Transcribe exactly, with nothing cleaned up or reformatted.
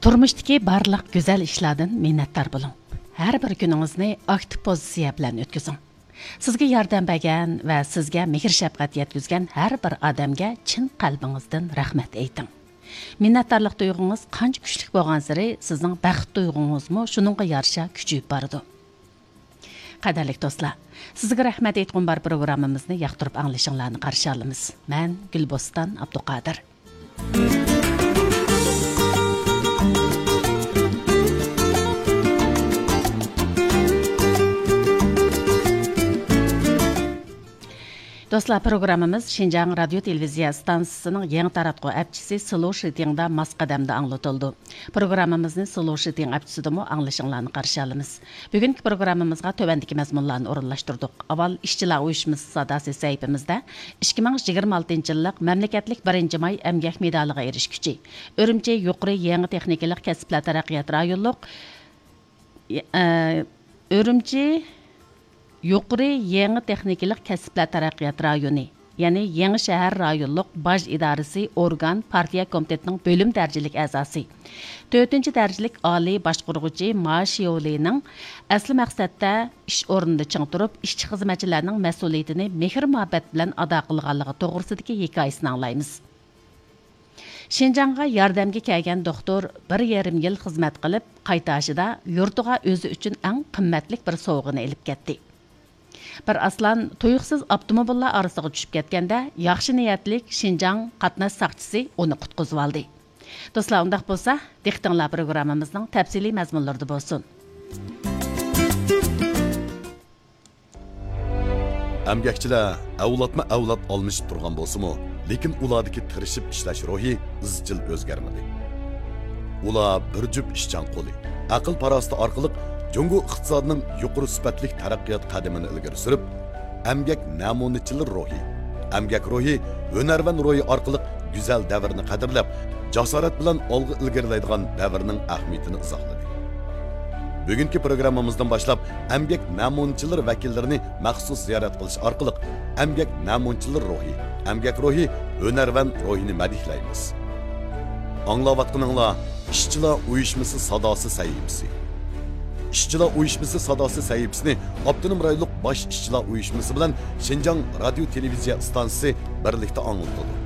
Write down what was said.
تۇرمۇشتىكى بارلىق گۈزەل ئىشلاردىن مىننەتدار بولۇڭ. ھەر بىر كۈنىڭىزنى ئاكتىپ پوزىتسىيە بىلەن ئۆتكۈزۈڭ. سىزگە ياردەم بەرگەن ۋە سىزگە مېھىر-شەپقەت يەتكۈزگەن ھەر بىر ئادەمگە چىن قەلبىڭىزدىن رەھمەت ئېيتىڭ. مىننەتدارلىق تۇيغۇڭىز قانچە كۈچلۈك بولغانسېرى، سىزنىڭ بەخت تۇيغۇڭىزمۇ شۇنىڭغا يارىشا كۈچىيىپ بارىدۇ. قەدىرلىك دوستلار، سىزگە رەھمەت ئېيتقۇم بار پروگراممىمىزنى ياقتۇرۇپ ئاڭلىشىڭلارنى قارشى ئالىمىز. مەن گۈلبوستان ئابدۇقادىر. دوستلار، پروگراممىمىز شىنجاڭ رادىيو تېلېۋىزىيە ئىستانسىسىنىڭ يېڭى تاراتقۇ ئەپچىسى سلو شىتىڭدا ماس قەدەمدە ئاڭلىتىلىدۇ. پروگراممىمىزنى سلو شىتىڭ ئەپچىسىدىمۇ ئاڭلىشىڭلارنى قارشى ئالىمىز. بۈگۈنكى پروگراممىمىزغا تۆۋەندىكى مەزمۇنلارنى ئورۇنلاشتۇردۇق. ئاۋۋال ئىشچىلار ئۇيۇشمىسى ساداسى سەھىپىمىزدە ئىككى مىڭ يىگىرمە ئالتىنچى يىللىق مەملىكەتلىك بىرىنچى ماي ئەمگەك مېدالىغا ئېرىشكۈچى، ئۈرۈمچى يۇقىرى يېڭى تېخنىكىلىق كەسىپلەر تەرەققىيات رايونلۇق، ئە، ئۈرۈمچى يۇقىرى يېڭى تېخنىكىلىق كەسىپلەر تەرەققىيات رايونى، يەنى يېڭى شەھەر رايونلۇق باج ئىدارىسى ئورگان پارتىيە كومىتېتىنىڭ بۆلۈم دەرىجىلىك ئەزاسى، تۆتىنچى دەرىجىلىك ئالىي باشقۇرغۇچى ما شيولىنىڭ ئەسلى مەقسەتتە ئىش ئورنىدا چىڭ تۇرۇپ، ئىشچى-خىزمەتچىلەرنىڭ مەسئۇلىيىتىنى مېھىر-مۇھەببەت بىلەن ئادا قىلغانلىقى توغرىسىدىكى ھېكايىسىنى ئاڭلايمىز. شىنجاڭغا ياردەمگە كەلگەن دوختۇر بىر يېرىم يىل خىزمەت قىلىپ، قايتاشىدا يۇرتىغا ئۆزى ئۈچۈن ئەڭ قىممەتلىك بىر سوۋغىنى ئېلىپ كەتتى. بىر ئارسلان تۇيۇقسىز ئاپتوموبىللار ئارىسىغا چۈشۈپ كەتكەندە، ياخشى نىيەتلىك شىنجاڭ قاتناش ساقچىسى ئۇنى قۇتقۇزۇۋالدى. دوستلار، ئۇنداق بولسا، دىققىتىڭلار پروگراممىمىزنىڭ تەپسىلىي مەزمۇنلىرىدا بولسۇن. ئەمگەكچىلەر ئەۋلادمۇ ئەۋلاد ئالمىشىپ تۇرغان بولسىمۇ، لېكىن ئۇلاردىكى تىرىشىپ ئىشلەش روھى ئىزچىل ئۆزگەرمىدى. ئۇلار بىر جۈپ ئىشچان قولى، ئەقىل-پاراسىتى ئارقىلىق جۇڭگو ئىقتىسادىنىڭ يۇقىرى سۈپەتلىك تەرەققىيات قەدىمىنى ئىلگىرى سۈرۈپ، ئەمگەك نەمۇنىچىلىرى روھى، ئەمگەك روھى، ھۈنەرۋەن روھى ئارقىلىق گۈزەل دەۋرنى قەدىرلەپ، جاسارەت بىلەن ئالغا ئىلگىرىلەيدىغان دەۋرنىڭ ئەھمىيىتىنى ئىزاھلىدى. بۈگۈنكى پروگراممىمىزدىن باشلاپ، ئەمگەك نەمۇنىچىلىرى ۋەكىللىرىنى مەخسۇس زىيارەت قىلىش ئارقىلىق ئەمگەك نەمۇنىچىلىرى روھى، ئەمگەك روھى، ھۈنەرۋەن روھىنى مەدھىيلەيمىز. ئاڭلاۋاتقىنىڭلار ئىشچىلار ئۇيۇشمىسى ساداسى سەھىپىسى. ئىشچىلار ئۇيۇشمىسى ساداسى سەھىپىسىنى ئاپتونوم رايونلۇق باش ئىشچىلار ئۇيۇشمىسى بىلەن شىنجاڭ رادىيو تېلېۋىزىيە ئىستانسىسى بىرلىكتە ئاڭلىتىدۇ.